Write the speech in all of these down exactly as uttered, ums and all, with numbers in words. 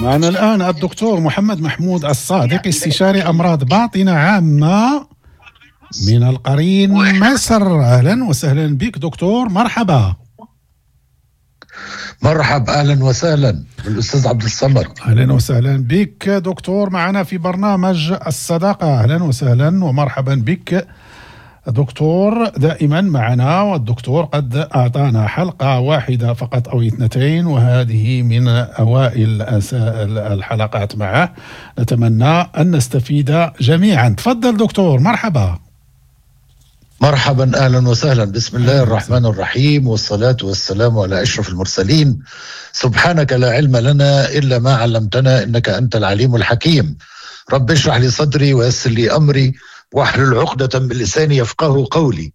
معنا الآن الدكتور محمد محمود الصادق، استشاري أمراض باطنة عامة من القرين مصر. أهلا وسهلا بك دكتور، مرحبا. مرحب، أهلا وسهلا بالأستاذ عبد الصمد. أهلا وسهلا بك دكتور معنا في برنامج الصداقة. أهلا وسهلا ومرحبا بك دكتور، دائما معنا. والدكتور قد أعطانا حلقة واحدة فقط أو اثنتين، وهذه من أوائل الحلقات معه. نتمنى أن نستفيد جميعا. تفضل دكتور، مرحبا. مرحبا، أهلا وسهلا. بسم الله الرحمن الرحيم، والصلاة والسلام على أشرف المرسلين. سبحانك لا علم لنا إلا ما علمتنا إنك أنت العليم الحكيم. رب اشرح لي صدري ويسر لي أمري واحلل عقدة من لساني يفقه قولي.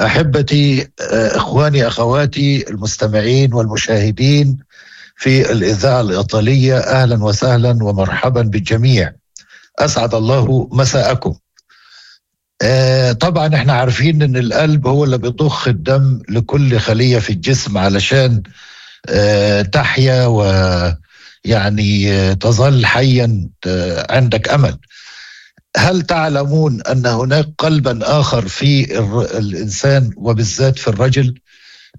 أحبتي، إخواني، أخواتي المستمعين والمشاهدين في الإذاعة الإيطالية، أهلا وسهلا ومرحبا بالجميع. أسعد الله مساءكم. طبعا احنا عارفين ان القلب هو اللي بيضخ الدم لكل خلية في الجسم علشان تحيا ويعني تظل حيا عندك أمل. هل تعلمون أن هناك قلبا آخر في الإنسان وبالذات في الرجل؟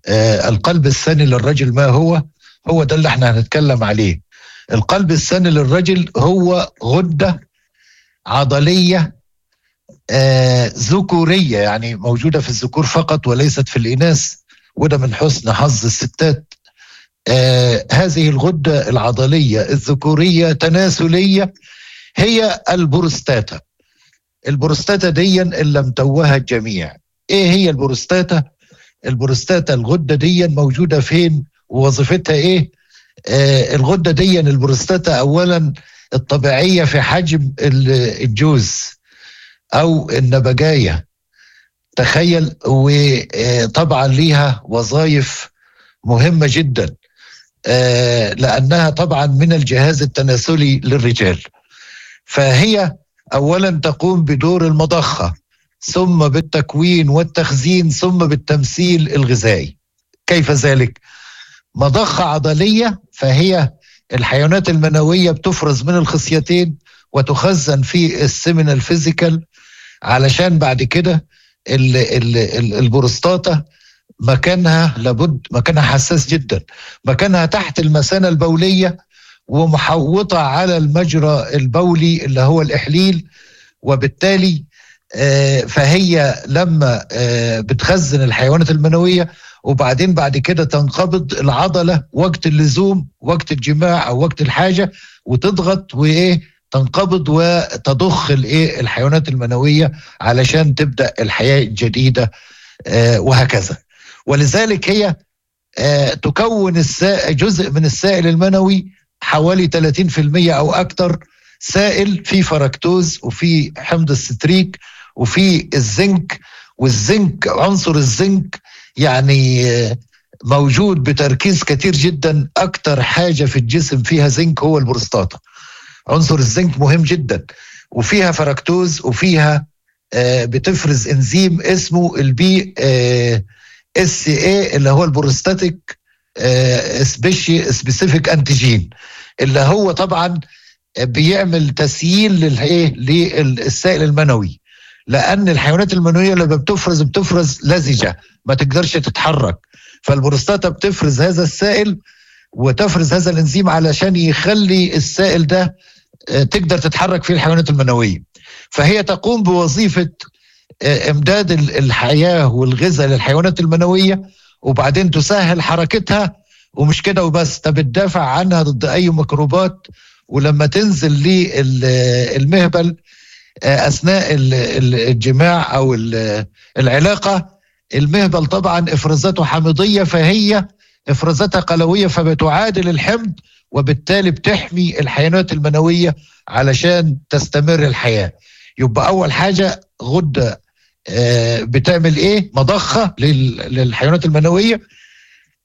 آه القلب الثاني للرجل ما هو؟ هو ده اللي احنا هنتكلم عليه. القلب الثاني للرجل هو غدة عضلية آه ذكورية، يعني موجودة في الذكور فقط وليست في الإناث، وده من حسن حظ الستات. آه هذه الغدة العضلية الذكورية تناسلية هي البروستاتا. البروستاتا دي اللي متوهها الجميع. ايه هي البروستاتا؟ البروستاتا الغدة دي موجودة فين ووظيفتها ايه؟ آه الغدة دي البروستاتا اولا الطبيعية في حجم الجوز او النبجاية، تخيل. وطبعا ليها وظائف مهمة جدا، آه لانها طبعا من الجهاز التناسلي للرجال. فهي أولا تقوم بدور المضخة، ثم بالتكوين والتخزين، ثم بالتمثيل الغذائي. كيف ذلك؟ مضخة عضلية، فهي الحيوانات المنوية بتفرز من الخصيتين وتخزن في ال seminal vesicle، علشان بعد كده البروستاتا مكانها لابد، مكانها حساس جدا، مكانها تحت المثانة البولية ومحوطة على المجرى البولي اللي هو الإحليل، وبالتالي فهي لما بتخزن الحيوانات المنوية وبعدين بعد كده تنقبض العضلة وقت اللزوم، وقت الجماع أو وقت الحاجة، وتضغط وإيه تنقبض وتضخ الإيه الحيوانات المنوية علشان تبدأ الحياة الجديدة، وهكذا. ولذلك هي تكون جزء من السائل المنوي حوالي ثلاثين بالمئة أو أكثر سائل في فركتوز وفي حمض الستريك وفي الزنك. والزنك، عنصر الزنك يعني موجود بتركيز كتير جدا. أكثر حاجة في الجسم فيها زنك هو البروستاتا. عنصر الزنك مهم جدا، وفيها فركتوز، وفيها بتفرز انزيم اسمه ال PSA اللي هو ال prostatic specific antigen، اللي هو طبعا بيعمل تسييل للايه للسائل المنوي، لان الحيوانات المنوية لما بتفرز بتفرز لزجه ما تقدرش تتحرك، فالبروستاتا بتفرز هذا السائل وتفرز هذا الانزيم علشان يخلي السائل ده تقدر تتحرك فيه الحيوانات المنوية. فهي تقوم بوظيفة امداد الحياة والغذاء للحيوانات المنوية، وبعدين تسهل حركتها. ومش كده وبس، ده بتدافع عنها ضد اي ميكروبات، ولما تنزل للمهبل اثناء الجماع او العلاقة، المهبل طبعا افرازاته حامضيه، فهي افرازاتها قلويه، فبتعادل الحمض، وبالتالي بتحمي الحيوانات المنوية علشان تستمر الحياة. يبقى اول حاجة غده بتعمل ايه؟ مضخه للحيوانات المنوية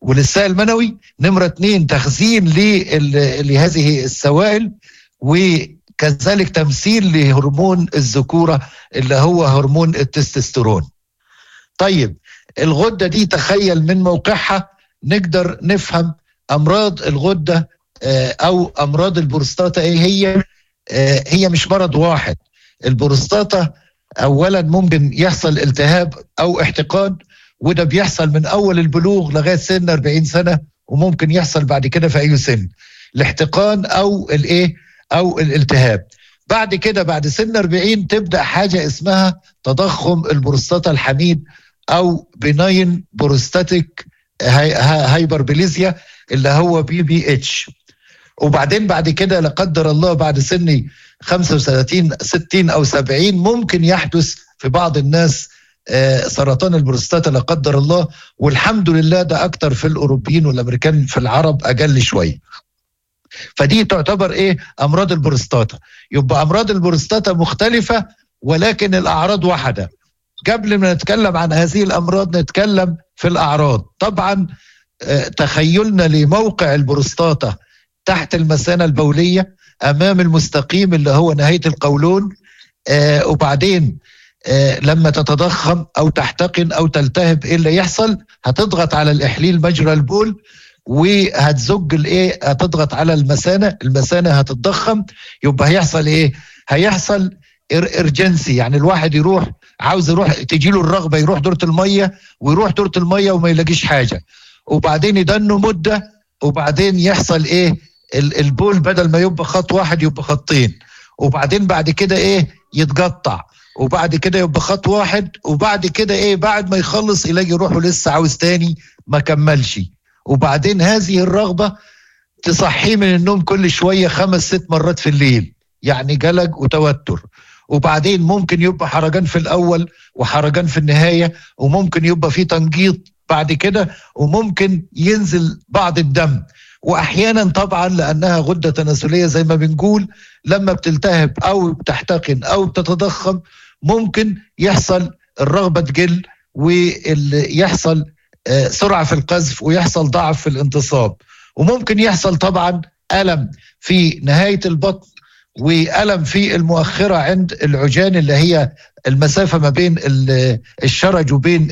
وللسائل المنوي. نمره اتنين تخزين لهذه السوائل، وكذلك تمثيل لهرمون الذكورة اللي هو هرمون التستوستيرون. طيب الغدة دي تخيل من موقعها نقدر نفهم أمراض الغدة او امراض البروستاتا ايه هي؟ هي مش مرض واحد. البروستاتا اولا ممكن يحصل التهاب او احتقان، وده بيحصل من اول البلوغ لغاية سن أربعين سنة، وممكن يحصل بعد كده في اي سن، الاحتقان او الايه او الالتهاب. بعد كده بعد سن أربعين تبدا حاجة اسمها تضخم البروستاتا الحميد او benign prostatic hyperplasia اللي هو BPH. وبعدين بعد كده لا قدر الله بعد سن خمسة وثلاثين ستين او سبعين ممكن يحدث في بعض الناس سرطان البروستاتا لا قدر الله، والحمد لله ده اكتر في الاوروبيين والامريكان، في العرب اقل شوية. فدي تعتبر ايه امراض البروستاتا. يبقى امراض البروستاتا مختلفة ولكن الاعراض واحدة. قبل ما نتكلم عن هذه الامراض نتكلم في الاعراض. طبعا تخيلنا لموقع البروستاتا تحت المثانه البوليه امام المستقيم اللي هو نهاية القولون، آه وبعدين آه لما تتضخم او تحتقن او تلتهب ايه اللي يحصل؟ هتضغط على الاحليل مجرى البول وهتزج الايه، هتضغط على المثانه، المثانه هتتضخم، يبقى هيحصل ايه؟ هيحصل urgency، يعني الواحد يروح عاوز يروح تجي له الرغبة يروح دورة المية، ويروح دورة المية وما يلاقيش حاجة، وبعدين يدنه مده، وبعدين يحصل ايه؟ البول بدل ما يبقى خط واحد يبقى خطين، وبعدين بعد كده ايه؟ يتقطع، وبعد كده يبقى خط واحد، وبعد كده ايه؟ بعد ما يخلص يلاقي روحه لسه عاوز تاني ما كملش، وبعدين هذه الرغبة تصحيه من النوم كل شوية خمس ست مرات في الليل، يعني قلق وتوتر. وبعدين ممكن يبقى حرجان في الأول وحرجان في النهاية، وممكن يبقى في تنقيط بعد كده، وممكن ينزل بعض الدم. وأحيانا طبعا لأنها غدة تناسلية زي ما بنقول لما بتلتهب أو بتحتقن أو بتتضخم ممكن يحصل الرغبة تقل، ويحصل سرعة في القذف، ويحصل ضعف في الانتصاب، وممكن يحصل طبعا ألم في نهاية البطن وألم في المؤخرة عند العجان اللي هي المسافة ما بين الشرج وبين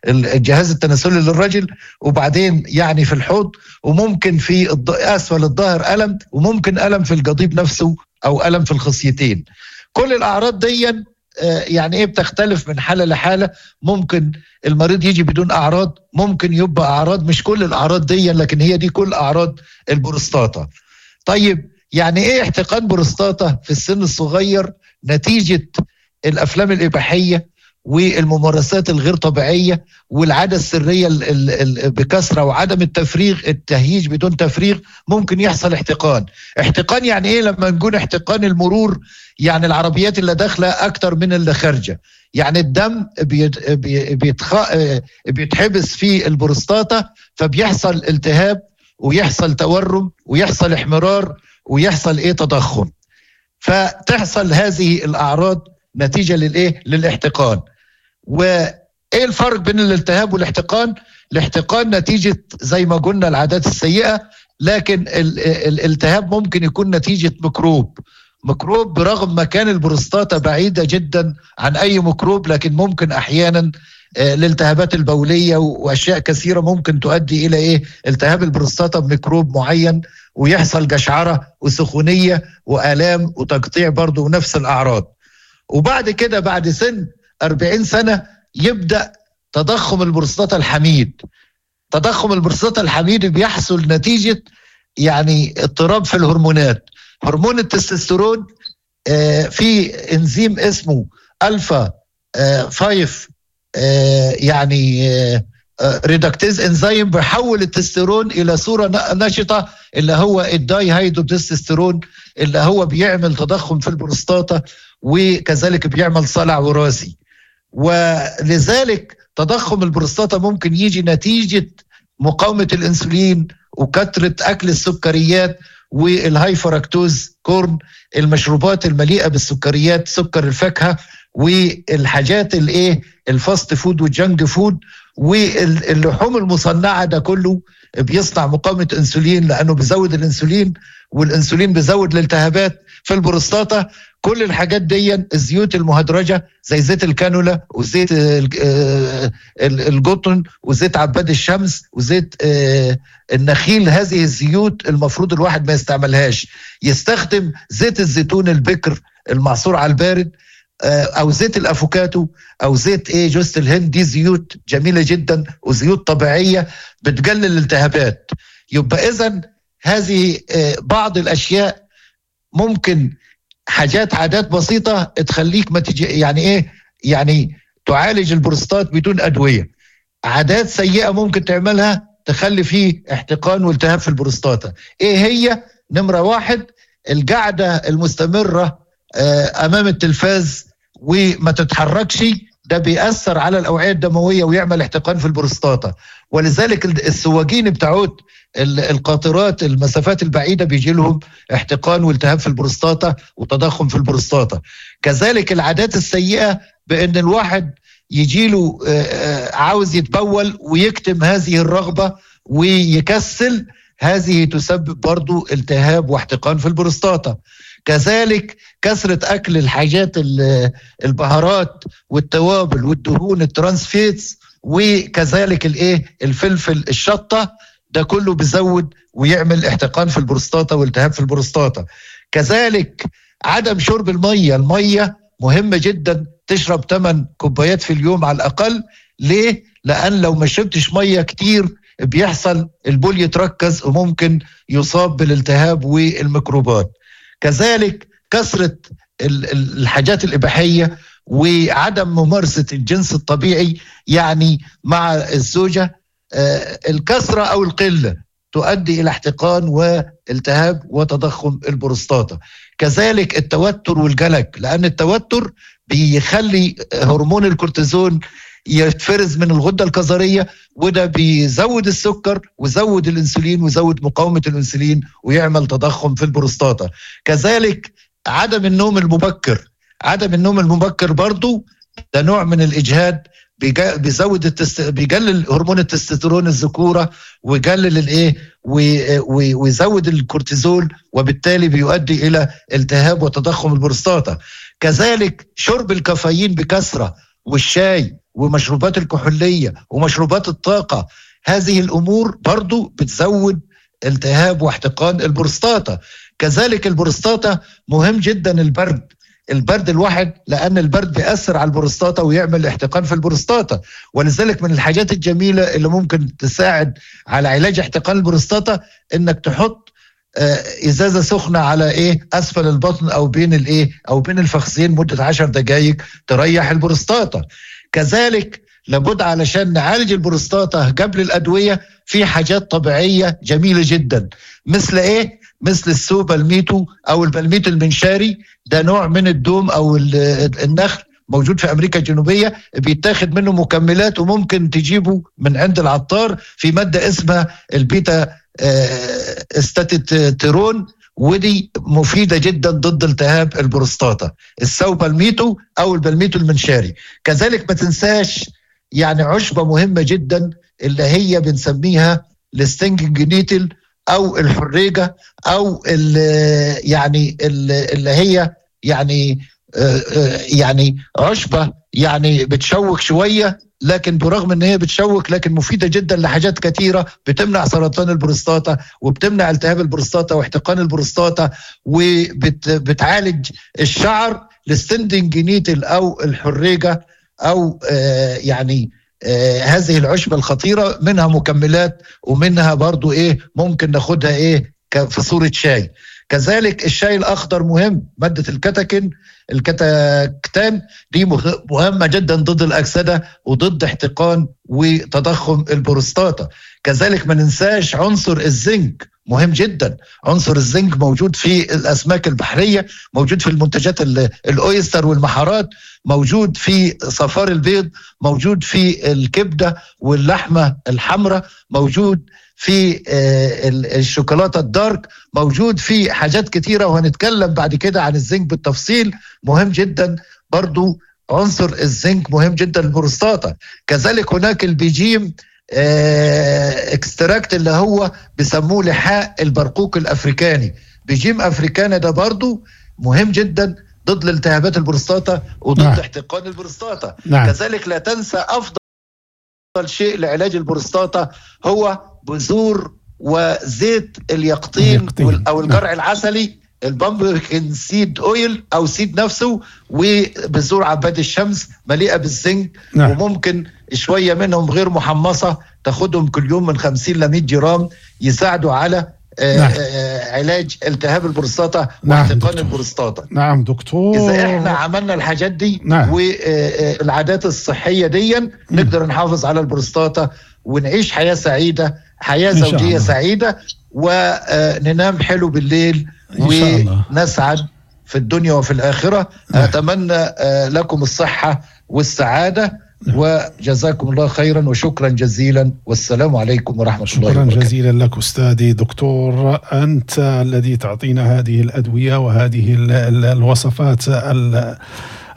الجهاز التناسلي للرجل، وبعدين يعني في الحوض، وممكن في أسفل الظهر ألم، وممكن ألم في القضيب نفسه أو ألم في الخصيتين. كل الأعراض دي يعني إيه بتختلف من حالة لحالة. ممكن المريض يجي بدون أعراض، ممكن يبقى أعراض، مش كل الأعراض دي لكن هي دي كل أعراض البروستاتا. طيب يعني إيه احتقان بروستاتا في السن الصغير؟ نتيجة الأفلام الإباحية والممارسات الغير طبيعية والعادة السرية بكثرة وعدم التفريغ، التهيج بدون تفريغ، ممكن يحصل احتقان. احتقان يعني ايه؟ لما نقول احتقان المرور يعني العربيات اللي داخلة اكتر من اللي خارجة، يعني الدم بيتخ... بيتحبس في البروستاتا، فبيحصل التهاب ويحصل تورم ويحصل احمرار ويحصل ايه؟ تضخم. فتحصل هذه الاعراض نتيجة للايه؟ للاحتقان. وايه الفرق بين الالتهاب والاحتقان؟ الاحتقان نتيجة زي ما قلنا العادات السيئة، لكن الالتهاب ممكن يكون نتيجة ميكروب، ميكروب برغم مكان البروستاتا بعيدة جدا عن أي ميكروب، لكن ممكن أحيانا الالتهابات البولية وأشياء كثيرة ممكن تؤدي إلى إيه؟ التهاب البروستاتا بميكروب معين، ويحصل قشعرة وسخونية وآلام وتقطيع برضه ونفس الأعراض. وبعد كده بعد سن أربعين سنة يبدأ تضخم البروستاتا الحميد. تضخم البروستاتا الحميد بيحصل نتيجة يعني اضطراب في الهرمونات. هرمون التستوستيرون في انزيم اسمه الفا خمسة يعني reductase enzyme بيحول التستيرون الى صورة نشطة اللي هو ال dihydrotestosterone، اللي هو بيعمل تضخم في البروستاتا وكذلك بيعمل صلع وراثي. ولذلك تضخم البروستاتا ممكن يجي نتيجة مقاومة الانسولين وكثرة اكل السكريات وال high fructose corn، المشروبات المليئة بالسكريات، سكر الفاكهة والحاجات الايه ال fast food وال junk food واللحوم المصنعة، ده كله بيصنع مقاومة انسولين لانه بيزود الانسولين، والانسولين بيزود الالتهابات في البروستاتا. كل الحاجات دي، الزيوت المهدرجة زي زيت الكانولا وزيت القطن وزيت عباد الشمس وزيت النخيل، هذه الزيوت المفروض الواحد ما يستعملهاش. يستخدم زيت الزيتون البكر المعصور على البارد، او زيت الافوكاتو، او زيت ايه جوز الهند. دي زيوت جميلة جدا وزيوت طبيعية بتقلل الالتهابات. يبقى اذا هذه بعض الاشياء ممكن حاجات عادات بسيطة تخليك ما تجي، يعني ايه، يعني تعالج البروستات بدون ادوية. عادات سيئه ممكن تعملها تخلي فيه احتقان والتهاب في البروستاتا. ايه هي؟ نمره واحد، القعدة المستمرة امام التلفاز وما تتحركش، ده بيأثر على الأوعية الدموية ويعمل احتقان في البروستاتا. ولذلك السواقين بتاعوت القاطرات المسافات البعيدة بيجي لهم احتقان والتهاب في البروستاتا وتضخم في البروستاتا. كذلك العادات السيئة بأن الواحد يجيله عاوز يتبول ويكتم هذه الرغبة ويكسل، هذه تسبب برضو التهاب واحتقان في البروستاتا. كذلك كثرة أكل الحاجات البهارات والتوابل والدهون ال trans fats، وكذلك الايه الفلفل الشطة، ده كله بيزود ويعمل احتقان في البروستاتا والتهاب في البروستاتا. كذلك عدم شرب المية، المية مهمة جدا، تشرب ثمان كوبايات في اليوم على الأقل. ليه؟ لأن لو ما شربتش مية كتير بيحصل البول يتركز وممكن يصاب بالالتهاب والميكروبات. كذلك كثرة الحاجات الإباحية وعدم ممارسة الجنس الطبيعي يعني مع الزوجة، الكثرة أو القلة تؤدي إلى احتقان والتهاب وتضخم البروستاتا. كذلك التوتر والقلق، لأن التوتر بيخلي هرمون الكورتيزون يتفرز من الغدة الكظرية، وده بيزود السكر وزود الانسولين وزود مقاومة الانسولين ويعمل تضخم في البروستاتا. كذلك عدم النوم المبكر، عدم النوم المبكر برضو ده نوع من الإجهاد، بيزود التست... بيقلل هرمون التستوستيرون الذكورة ويقلل الايه ويزود الكورتيزول، وبالتالي بيؤدي الى التهاب وتضخم البروستاتا. كذلك شرب الكافيين بكثرة والشاي ومشروبات الكحولية ومشروبات الطاقة، هذه الأمور برضو بتزود التهاب واحتقان البروستاتا. كذلك البروستاتا مهم جدا البرد، البرد الواحد، لأن البرد بيأثر على البروستاتا ويعمل احتقان في البروستاتا. ولذلك من الحاجات الجميلة اللي ممكن تساعد على علاج احتقان البروستاتا إنك تحط ازازة سخنة على ايه اسفل البطن او بين الايه او بين الفخذين مده عشر دقائق تريح البروستاتا. كذلك لابد علشان نعالج البروستاتا قبل الادوية في حاجات طبيعية جميلة جدا، مثل ايه؟ مثل ال saw palmetto او ال palmetto المنشاري، ده نوع من الدوم او النخل موجود في امريكا الجنوبية، بيتاخد منه مكملات وممكن تجيبه من عند العطار، في مادة اسمها البيتا استاتيتيرون، ودي مفيدة جدا ضد التهاب البروستاتا، ال saw palmetto أو ال palmetto المنشاري. كذلك ما تنساش يعني عشبة مهمة جدا اللي هي بنسميها ال stinging nettle أو الحريجة أو يعني اللي هي يعني يعني عشبة يعني بتشوك شوية، لكن برغم ان هي بتشوك لكن مفيدة جدا لحاجات كثيرة، بتمنع سرطان البروستاتا وبتمنع التهاب البروستاتا واحتقان البروستاتا وبتعالج الشعر. ال stinging nettle او الحريجه او آه يعني آه هذه العشبه الخطيرة، منها مكملات ومنها برضو ايه ممكن ناخدها ايه في صوره شاي. كذلك الشاي الاخضر مهم، مادة الكتاكين الكتاكتان دي مهمة جدا ضد الاكسدة وضد احتقان وتضخم البروستاتا. كذلك ما ننساش عنصر الزنك مهم جدا، عنصر الزنك موجود في الاسماك البحرية، موجود في المنتجات ال oyster والمحارات، موجود في صفار البيض، موجود في الكبده واللحمة الحمراء، موجود في الشوكولاتة ال dark، موجود في حاجات كتيرة، وهنتكلم بعد كده عن الزنك بالتفصيل. مهم جدا برضو عنصر الزنك مهم جدا للبروستاتا. كذلك هناك ال pygeum extract اللي هو بيسموه لحاء البرقوق الافريكاني، pygeum africana، ده برضو مهم جدا ضد الالتهابات البروستاتا وضد نعم. احتقان البروستاتا. نعم. كذلك لا تنسى افضل شيء لعلاج البروستاتا هو بذور وزيت اليقطين, اليقطين. وال- او الجرع نعم. العسلي، ال pumpkin seed oil او seed نفسه، وبذور عباد الشمس مليئة بالزنك. نعم. وممكن شوية منهم غير محمصه تاخدهم كل يوم من خمسين ل مية جرام، يساعدوا على آه، نعم. آه، علاج التهاب البروستاتا نعم، واحتقان دكتور. البروستاتا. نعم دكتور. اذا احنا عملنا الحاجات دي نعم. والعادات الصحية دي نقدر نحافظ على البروستاتا ونعيش حياة سعيده، حياة إن شاء زوجيه الله. سعيده، وننام حلو بالليل إن شاء الله. ونسعد في الدنيا وفي الاخرة. نعم. اتمنى آه، لكم الصحة والسعاده، نعم. وجزاكم الله خيرا وشكرا جزيلا، والسلام عليكم ورحمة الله شكرا وبركاته. جزيلا لك أستاذي دكتور، أنت الذي تعطينا هذه الأدوية وهذه ال- ال- الوصفات ال-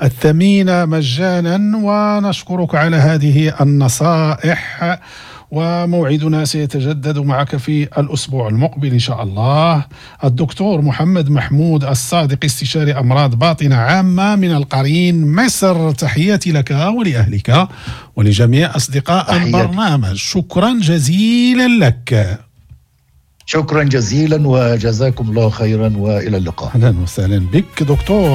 الثمينة مجانا، ونشكرك على هذه النصائح، وموعدنا سيتجدد معك في الأسبوع المقبل إن شاء الله. الدكتور محمد محمود الصادق، استشاري أمراض باطنة عامة من القرين مصر، تحياتي لك ولأهلك ولجميع أصدقاء تحياتي. البرنامج، شكرا جزيلا لك. شكرا جزيلا وجزاكم الله خيرا والى اللقاء. أهلا وسهلا بك دكتور.